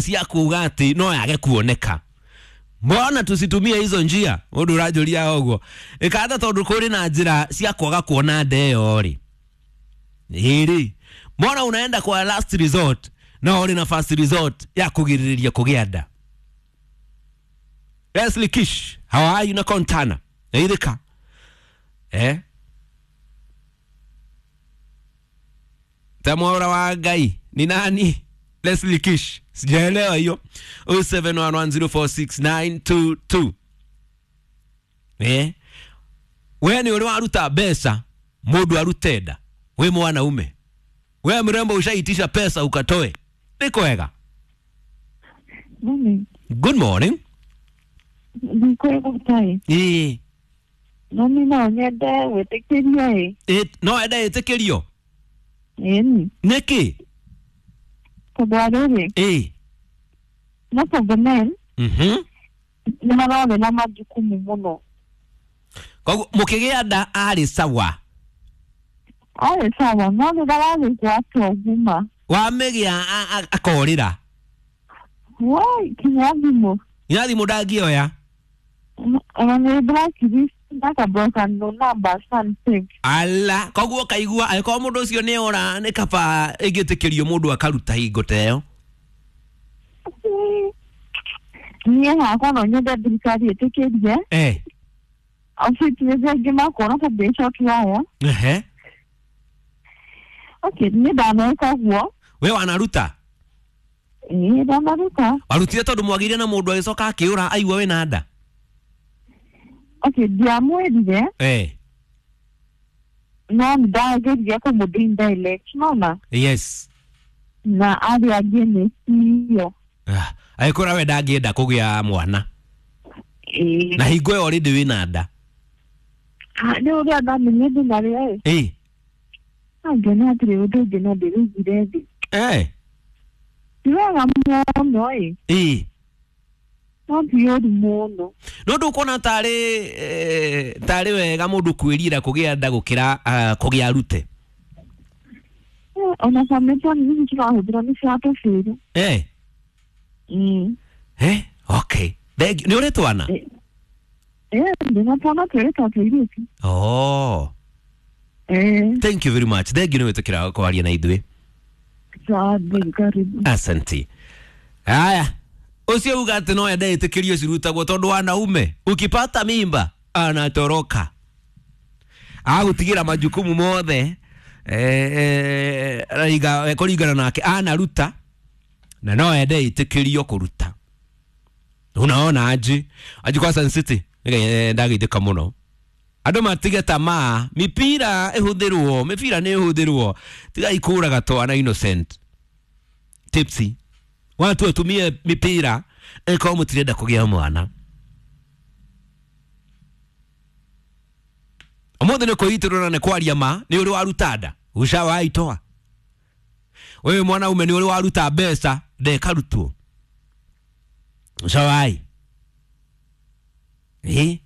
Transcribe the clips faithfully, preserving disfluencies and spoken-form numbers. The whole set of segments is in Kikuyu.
cia kuga ati no yage kuoneka. Mbona tusitumie hizo njia? Mundu uranjuria uguo ikatha tondu kuri na njira cia kwaga kuona nda iyo ri iri, mbona unaenda kwa last resort na uri na first resort ya kugiririria kugia nda? Leslie Kish, how are you na Kontana ithika eh Tamora wa Ngai ni nani? Leslie Kish, sijaelewa hiyo. oh seven one one zero four six nine two two. Eh? We ni uri waruta mbeca mundu arute nda. We mwanaume. We mrembo ushaitisha pesa ukatoe. Ni kwega. Morning. Good morning. Ni kwega tai. Eh. No ni no nyende gwĩtĩkĩrio ĩ. Eh, no ende ĩtĩkĩrio? Ĩni. Nĩkĩ? Tondũ rĩrĩ. Eh. Most of the men. Mhm. Nĩ mararĩ na majukumu mũno. Koguo mũkĩgĩa nda arĩ sawa? Arĩ sawa, no rĩrĩa wagĩgwatwo nguma. Wamĩgĩa akorĩra? Woi, kinya thimũ. Nginya thimũ ndangĩoya? Ona nĩ blacklist ndakablock no number something. Ala, koguo kaigua angĩkorwo mũndũ ũcio nĩ ora nĩ kaba ĩngĩtĩkĩrio mũndũ akaruta hingo ta ĩyo. Niĩ hakwa no nyende thirikari ĩtĩkĩrie. Eh. Ofisi angĩ makona ta mbeca tuoya. Ehe. Okay, niĩ ndaneka ũguo. We wanaruta? Ĩĩ, ndanaruta. Warutire tondũ mwagĩire na mũndũ agĩcoka akĩũra aigua wĩna nda? Okay, ndiamwĩrire. Eh. No ndageririe kũmũndũ indirect, nona? Yes. Na arĩa angĩ nĩ cio. Ah, agĩkũra we ndangĩenda kũgĩa mwana. Ĩĩ. Na hingo ĩyo already wĩna nda. Ah, nĩ ũrĩa ndamenyire ndĩ narĩo ĩ. Ĩĩ. Angĩona hatirĩ ũndũ ũngĩ no ndĩrĩigire thĩ. Eh. Ti wega mũno ĩ. Ĩĩ. No ti ũru mũno. No ndũkuona tarĩ tarĩ wega mũndũ kwĩrira kũgĩa nda gũkĩra kũgĩa arute? Ona family ici tũrahũthĩra nĩ cia tũbĩrũ. Eh. Mm. Eh, okay. Thank you. Nĩ ũrĩ twana? Eh, ndĩna twana twĩrĩ twa tũirĩtu. Oh. Eh. Thank you very much. Thank you nĩ gwĩtĩkĩra kwaria na ithuĩ. Sawa, karibu. Asante. Haya. Ucio uga atĩ no ende ĩtĩkĩrio cirutagwo tondũ wanaume ukipata mimba anatoroka. Agũtigĩra majukumu mothe eh eh kũringana nake anaruta na no ende ĩtĩkĩrio kũruta. Unaona aje? Aje kwa Sun City ndagĩithĩka mũno. Andũ matige tamaa, mipira ĩhũthĩrwo, mĩbira nĩ ĩhũthĩrwo. Tiga ikũraga twana innocent. Tipsy. Watu watumie mipira ĩkorwo mũtirenda kũgĩa mwana. Ũmũthĩ nĩ kwĩitĩrwo na nĩ kwaria ma, nĩ ũrĩ waruta nda, ushawaitoa. Wewe mwanaume nĩ ũrĩ waruta mbeca, ndekarutwo. Ushawai. Eh?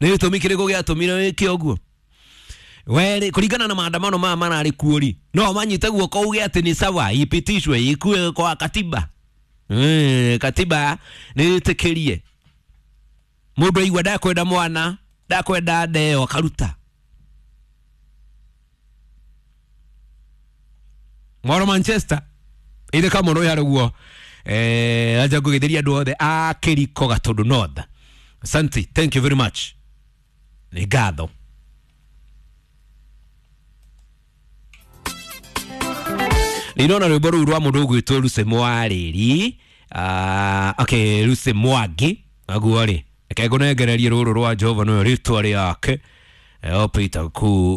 Nĩ gĩtũmi kĩrĩkũ gĩatũmire wĩke ũguo? Were kũringana na maandamano maya mararĩ kuo rĩ, no manyite guoko uge atĩ nĩ sawa ipitishwe ikue kwa katiba. Eh, katiba nĩ ĩtĩkĩrie. Mũndũ aigua ndakwenda mwana, ndakwenda nda ĩyo akaruta. Mwaro Manchester ire kamũno ya ruguo. Eh, aja ngũgetheria andũ othe a Kĩriko Gatũndũ North. Asante, thank you very much. Nĩ ngatho. Nĩndona rwĩmbo rũu rwa mũndũ ũgwĩtwo Lucy Mwarĩri. Ah, okay, Lucy Mwangi. Naguo rĩ, reke ngũnengererie rũrũ rwa Jehova nĩwe rĩtwa rĩake. Eh, Peter kuu